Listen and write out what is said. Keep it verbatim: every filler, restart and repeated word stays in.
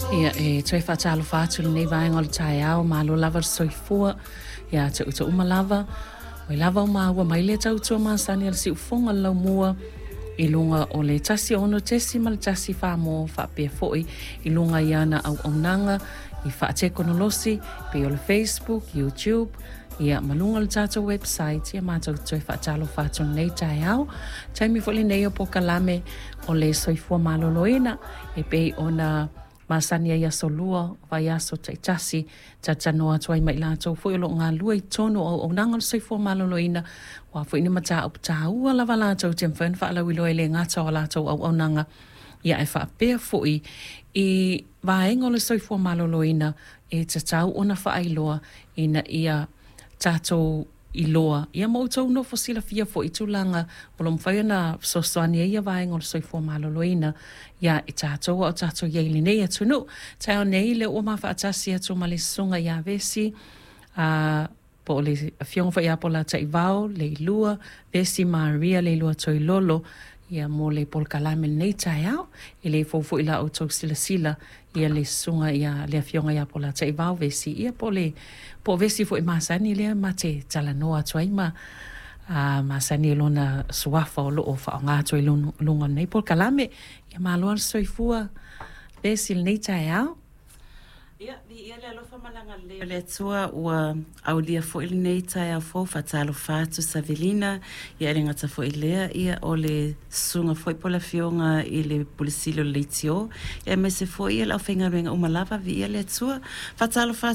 Ia e toe faatalofa atu lenei vaega o le taeao, malo lava le soifua ia te outou uma lava. Oi lava o maua mai le tautua masani a le siufofoga o le laumua i luga o le tasi ono tesi ma le tasi wha faapea foi i luga i ana auaunaga i faatekonolosi pei o le Facebook, YouTube, ia ma luga o le tatou website. Ia matou toe faatalofa atu lenei taeao. Taimi foi lenei o polokalame o le soifua maloloina e pei ona masani ai aso lua, vaiaso taitasi, talatalanoa atu ai ma i latou foi o loo galulue i totonu o auaunaga o le soifua maloloina, ua foi ni mataupu taua lava latou te mafai ona faalauiloa e le gata o latou auaunaga, ia ae faapea foi i vaega o le soifua maloloina e tatau ona faailoa ina ia tatou iloa, ia ma outou nofo silafia foi i tulaga o lo o mafai ona fesoasoani ai ia vaega o le soifua maloloina ia i tatou a o tatou i ai i lenei atunuu. Taeao nei lea ua mafaatasi atu ma le susuga ia Vesi, a po o le afioga foi ia Polataivao Leilua, Vesi Maria Leilua Toilolo, ia mo le polokalame lenei taeao. E le fou foi la outou silasila ia le susuga ia le afioga ia Polataivao Vesi, ia po o le po o Vesi foi masani lea ma te talanoa atu ai ma a masani i lona suafa o loo faaaoga atu ai luga o lenei polokalame. Ia malo le soifua Vesi i lenei taeao. Ia, viia le alofa ma le agalelei o le Atua ua aulia foi lenei taeao fou. Faatalofa atu Savelina, ia e le gata foi lea, ia o le susuga foi po o le afioga i le Pule Sili o le Leitio, ia aemaise foi ia le aufaigaluega uma lava, viia le Atua. Faatalofa